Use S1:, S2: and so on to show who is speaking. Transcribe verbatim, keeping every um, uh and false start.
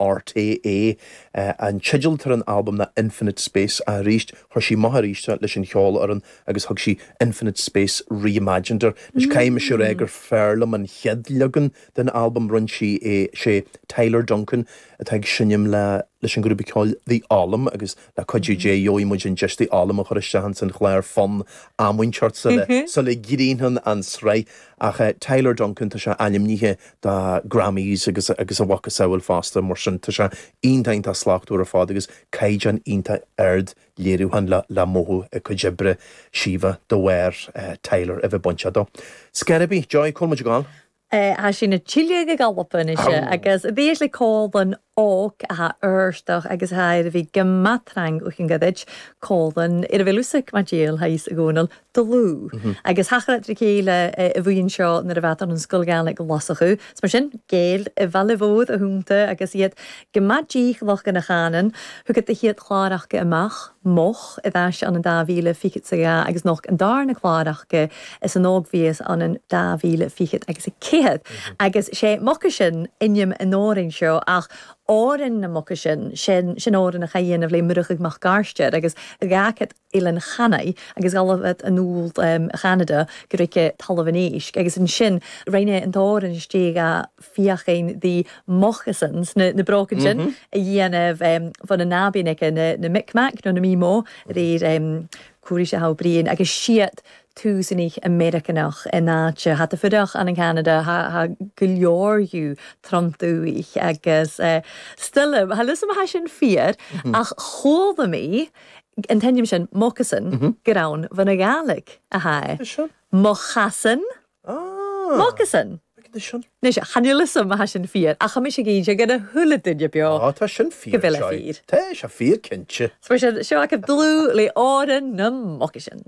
S1: RTÉ. An teideal atá ar an albam ná Infinite Space arís chuir sí amach arís leis an cheolfhoireann agus thug sí Infinite Space Reimagined air. Anois caithfidh mise a rá gur fearr liom an chéad leagan den albam, rinne sí é, sé Tyler Duncan atá ag seinm le leis an ghrúpa ceoil The Ollam agus le cuidiú Dé gheobhaidh muid an deis The Ollam a chur isteach ins an chlár fonn am inteacht sula sula gcríochnaíonn an tsraith. Ach Tyler Duncan tá sé ainmnithe do Grammys agus agus a mhacasamhail fosta mar sin tá sé iontach iontach slachtmhar ar fad agus caighdeán iontach ard léiriúcháin le le mothú i cuid oibre Síomha de bharr Tyler a bheith bainteach dó. Scor ar bith, Joy, cá bhfuil muid ag gabháil?
S2: Tá sí na tuilleadh ag Albain anois agus bhí le Colin óg a éirsteach agus a bhí go matrang uchan goid Colin ar a bhfuil mar díol thaís a gcónal dlúth. Agus thachra trí chéile i bhuíon seo nuair a bheat an scoil Ghaeilge lasachú. Mar sin Gaeil i bhFeallbhód a húnta agus iad go maith dícheallach gona chanann, thugad a chéad chlár acu amach moch i dtais an an dá mhíle fichead 's a dhá agus noch an darna clár acu is an ógmhíos an an dá mhíle fichead agus a ceathair. Agus sé Moccasin ainm an amhráin seo ach Árainn na Moccasin sin sin amhrán a dhéanamh le Muireadhach Mac Garstir agus gácad Eilean Channaigh agus galabh an úll Cheanada go rice talamh an éisc agus ansin rinne an t-amhrán istigh a fiachain the moccasins na, na brócain sin mm -hmm. a dhéanamh um, fan na nábín aici na, na Micmac nó na Mímó réir um, cuarí sé ha bríon agus siad túsanich Americanach in áite hat a fuireach an an Canada ha go leorú tromtúich agus uh, stille ha lus ha sin fíor mm -hmm. ach chóda mí an t-ainm sin moccasin mm -hmm. gur ann bhan na Gàidhlig a ha. Mochasin
S1: Ah.
S2: Moccasin. Ní sé chanúlasam a ha sin fíor ach mi sé gin sé gona thulle duine beo.
S1: Á tá sin fíor
S2: Go bhfuil a fíor.
S1: Tá sé fíor cinnte.
S2: Seo sin seo acu dlúth le Árainn na Moccasin.